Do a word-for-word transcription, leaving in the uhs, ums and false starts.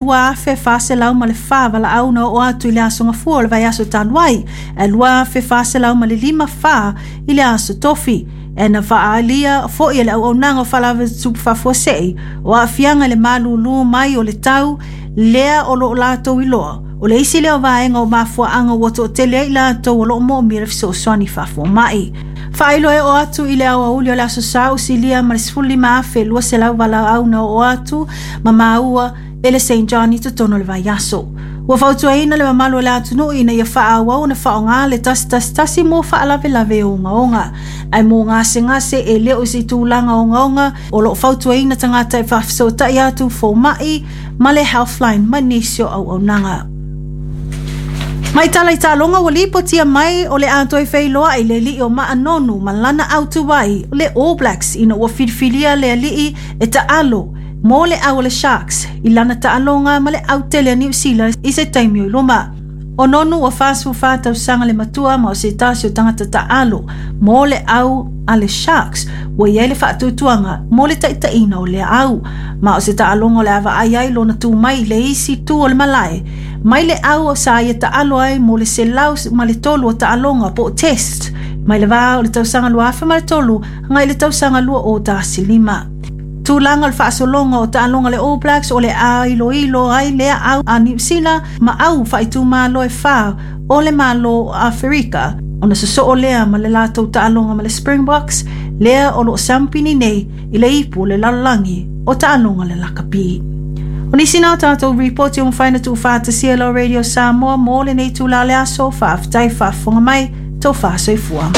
Lua afe fa selau ma le fa valaau na oo atu i le aso Gafua o le vaiaso talu ai, ae lua afe fa selau ma le lima fa i le aso Tofi. E na faaalia foi e le auaunaga o faalavelave tutupu faafuasei o aafiaga i le malūlū mai o le tau lea o loo latou iloa o le isi lea o vaega o mafuaaga ua toatele ai latou o loo moomia le fesoasoani faafuama'i. Faailoa e oo atu i le aoauli o le aso Sa usilia ma le sefulu lima afe lua selau valaau na oo atu ma maua e le Saint John i totonu o le vaiaso. Ua fautuaina le mamalu o le atunuu ina ia faaauau ona faaaoga le tasi tasi tasi mo faalavelave ogaoga. Ae mo gasegase e le o se tulaga ogaoga, o loo fautuaina tagata e faafesootai atu foma'i ma le Healthline ma nisi o auaunaga. Mai tala i taaloga, ua lipotia mai o le a toe feiloai le alii o Ma'a Nonu ma lana autuai le All Blacks ina ua filifilia le alii e taalo mo le au o le Sharks i lana taaloga ma le autele a Niu Sila i se taimi o i luma. O Nonu ua fasefulufa tausaga le matua ma o se tasi o tagata taalo mo le au a le Sharks ua i ai le faatuatuaga mo le taitaiina o lea au. Ma o se taaloga o le a vaai ai lona tu mai i le isi tu o le malae mai le au sa ia taalo ai mo le selau ma le tolu o taaloga po o test mai le vā o le tausaga lua afe ma le tolu agai le tausaga lua o tasi lima. Tulaga o le faasologa o taaloga le All Blacks o le a iloilo ai lea au a Niu Sila ma au faaitumalo e fa o le Malo o Aferika ona sosoo lea ma le latou taaloga ma le Springboks lea o loo siamupini nei i le ipu o le lalolagi o taaloga le lakapi. O nisi na o tatou ripoti o mafai na tuufaatasia lau Radio Samoa mo lenei itulā o le aso. Faafetai faafofoga mai, tofa soifua.